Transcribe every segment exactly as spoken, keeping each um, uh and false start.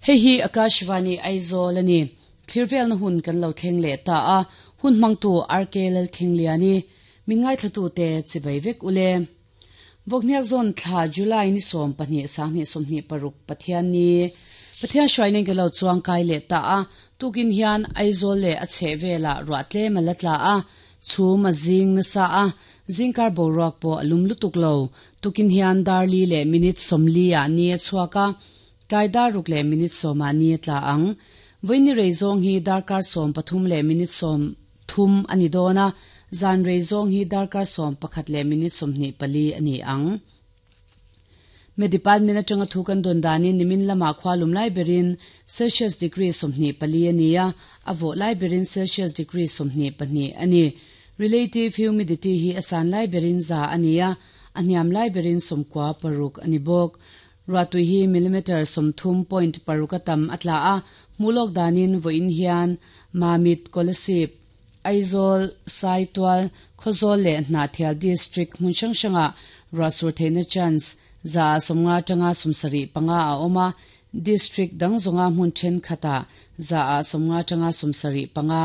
Hei hi Akashvani Aizawl a ni. Thlirvelna hun kan lo thleng leh ta a, hun hmangtu RK Lalthlengliani, min ngaithlatute chibai vek ule. Vawkhniak zawn thla July ni sawm pahnih sanghnih sawmhnih paruk Pathian ni Pathian hruainen ka lo chuang kai leh ta a, tukin hian Aizawl leh a chheh velah ruah tlem a la tla a, chhum a zing nasa a, zingkar boruak pawh a lum lutuk lo. Tukin hian dar li leh minute sawmli ah ni a chhuak a, tlai dar ruk leh minute sawm ah ni a tla ang. Vawiin rei zawng hi darkar sawm pathum leh minute sawm thum a ni dawn a, zan rei zawng hi darkar sawm pakhat leh minute sawmhnih pali a ni ang. Me department atanga thu kan dawn danin nimin lamah khua lum lai berin Celsius degree sawmhnih pali a ni a, a vawh lai berin Celsius degree sawmhnih pahnih a ni. Relative humidity hi a san lai berin za a ni a, a hniam lai berin sawmkua paruk a ni bawk. Ruahtui hi millimeter sawmthum point paruk a tam a tla a, hmuhlawk danin vawiin hian Mamit, Kolasib, Aizawl, Saitual, Khawzawl leh Hnahthial district hmun hrang hrangah ruahsur theihna chance za sawmnga atanga sawmsarih panga a awm a, district dang zawnga hmun thenkhatah za ah sawmnga atanga sawmsarih panga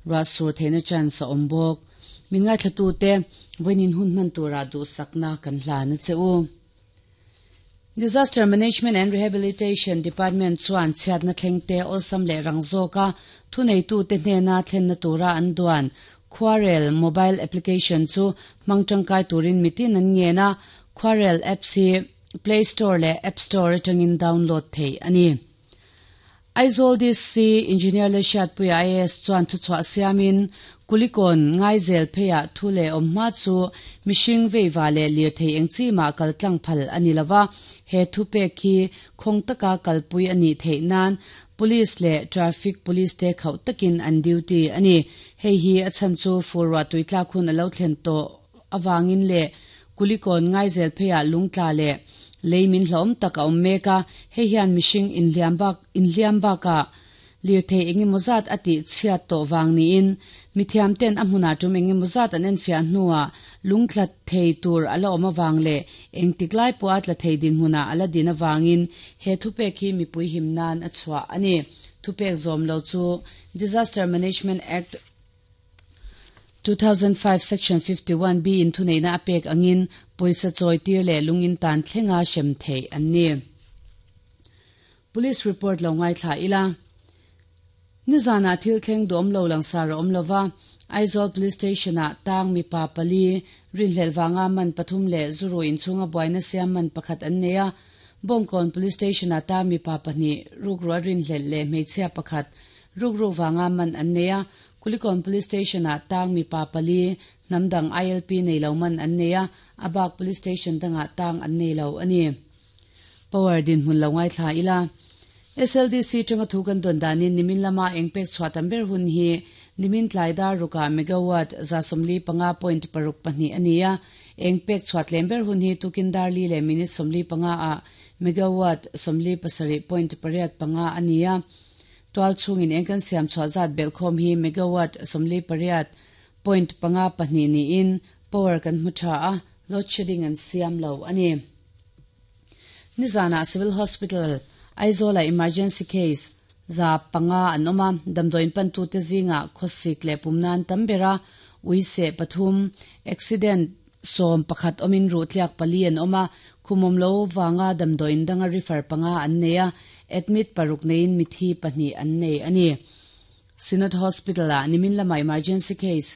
ruahsur theihna chance a awm bawk. Min ngaithlatute vawiin hun hman tura duhsakna kan hlan a che u. Disaster Management and Rehabilitation Department chuan chhiatna thlengte awlsam leh rang zawka thuneitute hnena thlenna tura an duan Khuarel mobile application chu hmang tangkai turin mitin an ngen a, Khuarel apps hi Play Store leh App Store atangin download theih a ni. Aizawl DC Engineer Lalhriatpuia IAS chuan thuchhuah siamin Kulikawn Ngaizel pheiah thu leh awm hma chu mihring veiva leh lirthei eng chi mah kal tlang phal a ni lova, he thupek hi khawng taka kalpui a nih theih nan Police leh Traffic Police te khauh takin an duty a ni. Hei hi a chhan chu fur ruah tui tlak hun a lo thlen tawh avangin leh Kulikawn Ngaizel pheiah lungtla leh lei min hlawm tak a awm mek a, hei hian mihring inhliam bak inhliam bakah lirthei engemaw zat a tih chhiat tawh vang niin mithiam ten a hmunah tum engemaw zat an enfiah hnuah lungtla thei tur a la awm avang leh engtik lai pawh a tla thei dinhmunah a la din avangin he thupek hi mipui him nan a chhuah a ni. Thupek zawm lo chu Disaster Management Act two thousand five Section fifty one B in thuneihna a pek angin pawisa chawi tir leh lungin tan thlenga hrem theih an ni. Police report lo ngaithla ila. Nizanah thil thleng duhawm lo langsar a awm lova, Aizawl Police Station-ah tang mipa pali, rinhlelh vanga man pathum leh zuru inchhunga buaina siam man pakhat an nei a. Bawngkawn Police Station-ah tang mipa pahnih, rukruah rinhlelh leh hmeichhia pakhat, rukru vanga man an nei a. Kulikawn Police Station-ah tang mipa pali, hnam dang ILP nei lo man an nei a, a bak Police Station dangah tang an nei lo a ni. Power dinhmun lo ngaithla ila. SLDC tanga thu kan dawn danin nimin lama eng pek chhuah tam ber hun hi nimin tlai dar rukah megawatt za sawmli panga point paruk pahnih a ni a, eng pek chhuah tlem ber hun hi tukin dar li leh minute sawmli panga ah megawatt sawmli pasarih point pariat panga a ni a. Tual chhungin eng kan siam chhuah zat belhkhawm hi megawatt sawmli pariat point panga pahnih niin power kan hmu tha a, load shedding an siam lo a ni. Nizanah Civil Hospital Aizawla emergency case za panga an awm a, damdawiin pantute zingah khawsik leh pumna an tam ber a, ui seh pathum, accident sawm pakhat awmin ruh tliak pali an awm a, khumawm lo vanga damdawiin danga refer panga an nei a, admit paruk neiin mithi pahnih an nei a ni. Synod Hospital-ah nimin lama emergency case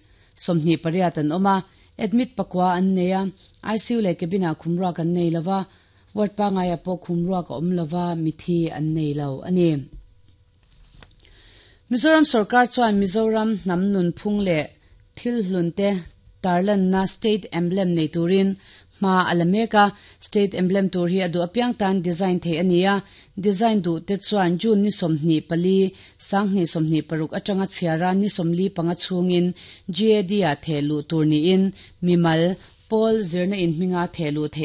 sawmhnih pariat an awm a, admit pakua an nei a, ICU leh cabin-ah khumruak an nei lova, Ward pangaia pawh khumruak a awm lova, mithi an nei lo a ni. Mizoram sorkar chuan Mizoram hnam nunphung leh thil hlunte tarlanna State Emblem nei turin hma a la mek a. State Emblem tur hi a duh apiang tan design theih a ni a. Design duh te chuan June ni sawmhnih pali, sanghnih sawmhnih paruk atanga chhiara ni sawmli panga chhungin GAD ah theh luh tur niin mimal pawl zirna inhminga theh luh theih